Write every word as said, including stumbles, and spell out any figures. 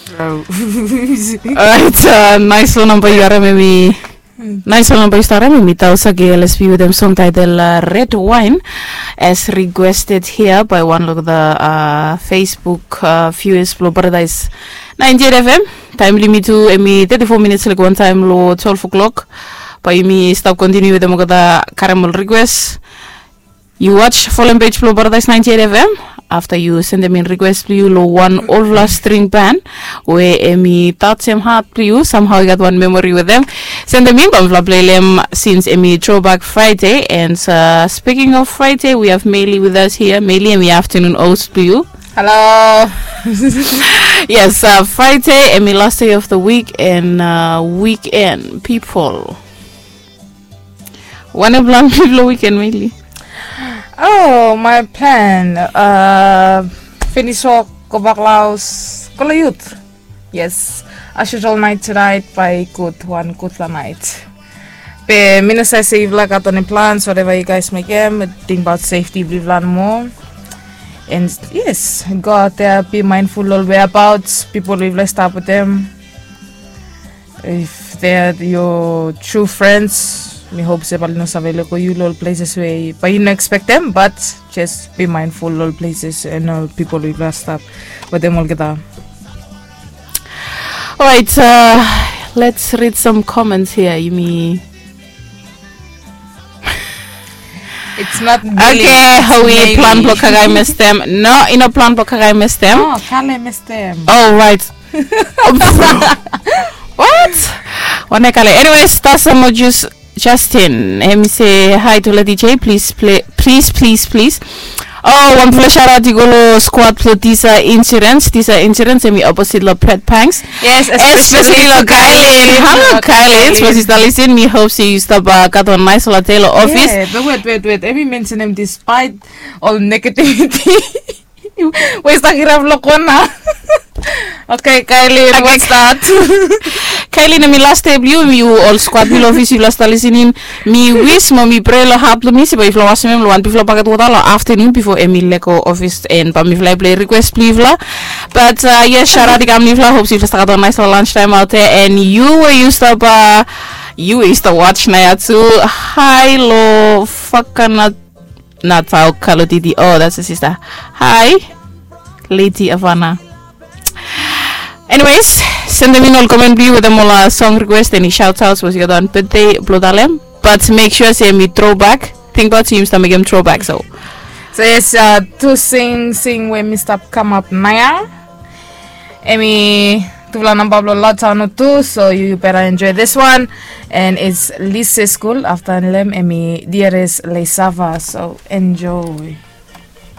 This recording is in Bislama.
Alright, nais long namba yu harim em i nais long namba yu stap harim em i Tausa K L S P wetem song title Red Wine, as requested here by one of the Facebook viewers blong Paradise ninety-eight F M. Taem blong yumi tu em i thirty-four minutes like one time long twelve o'clock. Bae yumi stap continue wetem olgeta karim ol request. Yu watch folem page blong Paradise ninety-eight F M afta yu sendem in request blong yu long wan olfala string band we em i tajem hat blong yu, somehow i gat wan memory wetem. Sendem in bae mifala plei long em since em i Throwback Friday. And uh, speaking of Friday, we have Meili with us here. Meili, em i afternoon host blong yu. Hello. Yes, uh, Friday em i last day of the week and uh, weekend people. Wanem plan blong yu long weekend, Meili? Oh, my plan. Uh, finish work, go back long haos, go long youth. Yes. As usual, night tonight, bae gud, wan gudfala night. Be mi no save se yufala gat eni plans, whatever you guys mekem, tingbaot safety blong yufala nomo. And yes, go out there, be mindful ol whereabouts, people we yufala stap wetem. If they are your true friends, mi hope se bae oli no save lego yu long ol places we bae yu no expectem, but just be mindful long ol places and ol people we yufala stap wetem olgeta. Alright, uh, let's read some comments here. Yumi It's not really, okay, it's Howie, plan blong Kakae Mestem. No, i no plan blong Kakae Mestem. Oh, Kale Mestem. Oh, right. What? Wane Kale. Anyways, Tasa Mojus Justin, em i se hi to Lady J, please, please, please, please. Oh, wanfala shout out i go long squad blong Tisa Insurance. Tisa Insurance em i opposite long Pret Pangs. Yes, especially long Kailin. Halo Kailin, sapos yu stap lisin, mi hope se yu stap gat wan naesfala dei long ofis. Be wet, wet, wet. Em i mensenem despite ol negativity we i stap kirap long kona. Okay, Kailin, what's that? Kailin, em i last dei blong yu, yu ol squad blong ofis yufala stap lisin in. Mi wis mo mi prea long hat blong mi se bae yufala wasem em long wan bigfala baket wota long aftenun bifo em i lego ofis, and bae mifala i plei request blong yufala. But uh, yes, shout out i kam long yufala, hope se yufala stap gat wan naesfala lunch time out there, and yu we yu stap uh, yu we yu stap watch naoia tu, hi long Fakana Natal Kalotiti. Oh, that's a sister. Hi, Lady Avana. Anyways, sendem in ol comment blong yu wetem ol uh, song request, eni shout outs, sapos yu gat wan birthday blong talem. But make sure se em i throwback. Tingbaot se yumi stap mekem throwback, so. So yes, uh, tu sing sing we mi stap kamap naoia. Em i tufala namba blong Lotano tu, so you better enjoy this one. And it's Lise School, afta long em em i Dieres Lesava, so enjoy.